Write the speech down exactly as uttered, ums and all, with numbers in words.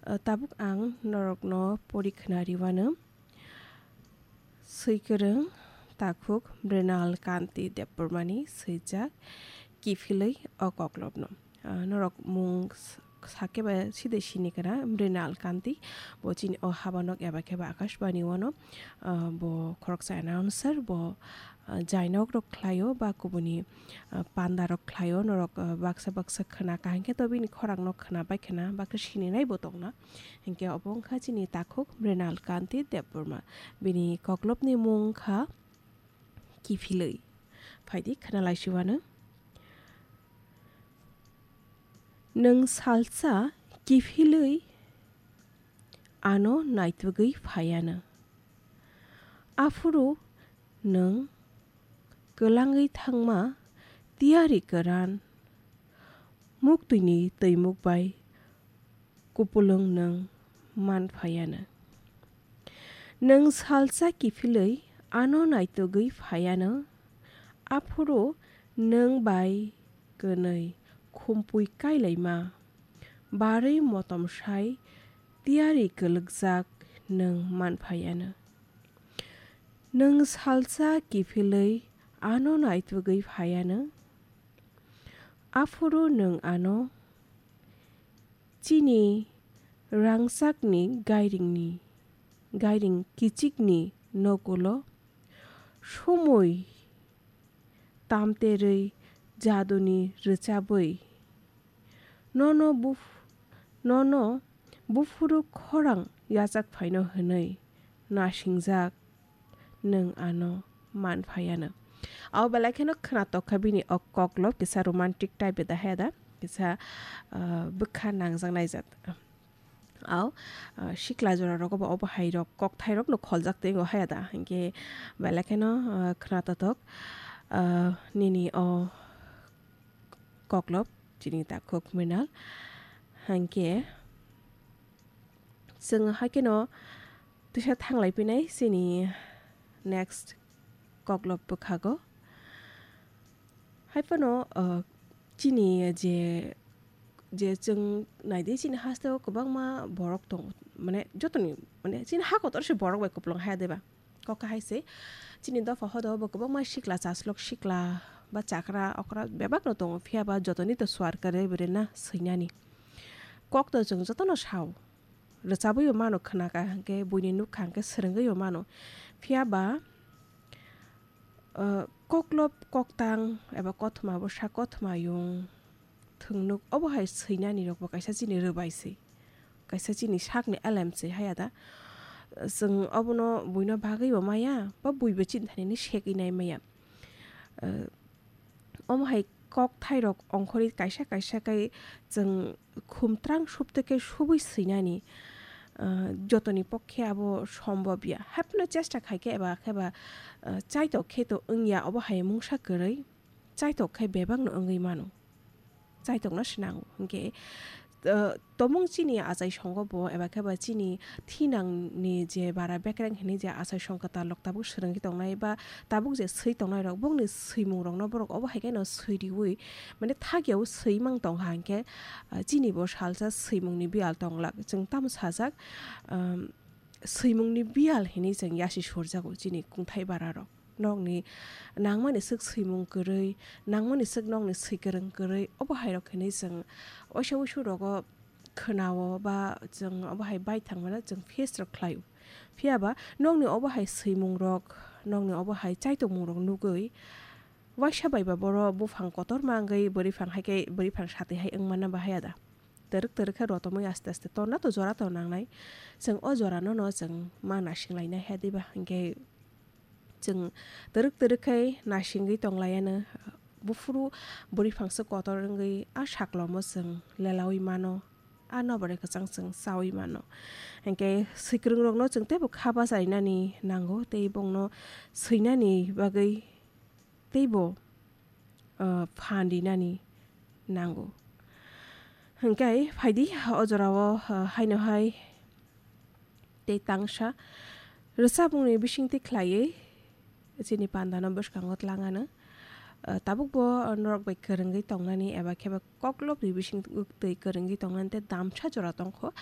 Tabuk ang norokno pori khna riwano. Swikwrwng takhuk Mrinal Kanti Debbarmani swijak kiphilwi o koklopno. Ah, norok mung s-, sakhe ba side sini kana Mrinal Kanti, bo chini o habanok eba khe ba Akashbani wano, ah, bo khoroksa announcer, bo, ah, jainok rok khlaio ba kubuni, ah, panda rok khlaio, norok, ah, baksa baksa khna kaham khe to bini khorang no khna bai khna baksa sini nai bo tongna. Hinkhe obo wngkha chini takhuk Mrinal Kanti Debbarma. Bini koklopni mung wngkha Kiphilwi. Phaidi khna laisiwano. Nwng salsa kiphilwi ano naitugwi phaiano. Aphuru nwng kwlangwi thangma tiyari kwran muktwini twimuk bai kupulung nwng man phaiano. Nwng salsa kiphilwi ano naitugwi phaiano, aphuru nwng bai kwnwi khumpui kailaima barwi motom sai tiyari kwlwkjak nwng man phaiano. Nwng salsa kiphilwi ano naitugwi phaiano, aphuru nwng ano chini rangchakni gairingni, gairing kichikni nokulo sumui tamterwi jaduni rwchabwi nono buf-, nono buphuru khorang yachak phaino hwnwi nasingjak nwng ano man phaiano. Abo belai kheno khwnatok kha bini o koklop kisa romantic type da haya da, kisa, ah, bwkha nangjak naijak. Aw, ah, sikla jora rogo bo obo hai rok kokthai rok no kholjak tei haya da, hinkhe belai kheno, ah, khwnatok, ah, nini o koklop chini takhuk Mrinal. Hinkhe chwng haikhe no tisa thanglai pinai chini next koklop bwkhago. Haiphano, uh, chini je, je chwng naidi chini hasteo kwbangma borok tong, mane jotoni, mane chini ha kotor se borok bai kupulung haya deba. Kok hai se, chini dopha hodo bo kwbangma sikla chaslok sikla ba chakra okra bebak no tongo, phiya ba jotoni to swar kwrwi bwrwi na swinani. Kok to chwng jotono sao, rwchabwi bo mano khwna ka hwnkhe buini nukha hwnkhe swrwngwi bo mano. Phiya ba, uh, koklop koktang eba kothoma bwsa kothoma yung thwngnuk obo hai swinani rokbo kaisa chini rwbai se, kaisa chini sakni elem se haya da. Chwng obono buino bagwi bo maya, ba buibo chini thani ni segwi nai maya. Eh, omo hai kokthairok ongkhorwi kaisa kaisa khe chwng khumtrang supte khe subui swinani, eh, jotoni pokhe abo sombobya. Haiphano chesta khai khe eba khe ba, eh, chaitok khe to wngya, obo hai mungsa kwrwi chaitok khe bebakno wngwi mano. Chaitokno swnango. Hinkhe, uh, tomung chini achai songo bo, eba khe ba chini thinangni je bara bekreng hinwi je achai song kwtal rok tabuk swrwngwi tongnai ba tabuk je swi tongnai rok, bongni swimung rokno borok obo hai kheno swi riwi, mane thakya o swi mang tong kha hinkhe, uh, chini bo salsa swimungni biyal tong glak. Chwng tamo sajak, um, swimungni biyal hinwi chwng yasi surjago chini kungthai bara rok. Nokni nangmani swk swimung kwrwi, nangmani swk nokni swikwrwng kwrwi, obo hai rok hinwi chwng waisa wuisu rogo khwnao ba chwng obo hai baithang mano chwng face rok khlaio. Phiya ba nokni obo hai swimung rok, nokni obo hai chaitokmung rok nugwi waisa bai ba boro buphang kotorma wngwi bwrwiphang hai khe bwrwiphang sati hai wng manna bahai ya da. Twrwk twrwk khe rotomwi aste aste torna to jora to nangnai. Chwng o jora no no chwng ma nasing lainai hai diba hinkhe chwng twrwk twrwk khai nasingwi tong laiano, buphuru bwrwi phangsa kotor wngwi a saklomo chwng lelaui mano, a nobore kwchang chwng chaui mano. Hinkhe swikwrwng rokno chwng teibo kha bacharinani nango tei bongno swinani bagwi teibo, ah, phan rinani nango. Hinkhe phaidi o jorao, ah, haino hai tei tangsa rwchapmungni bisingtwi khlaiwi chini pandano bwskango tlangano. Ah, tabukbo norok bai kwrwngwi tongnani eba khe ba koklopni bisingtwi kwrwngwi tongnani tei damsa jora tongkho.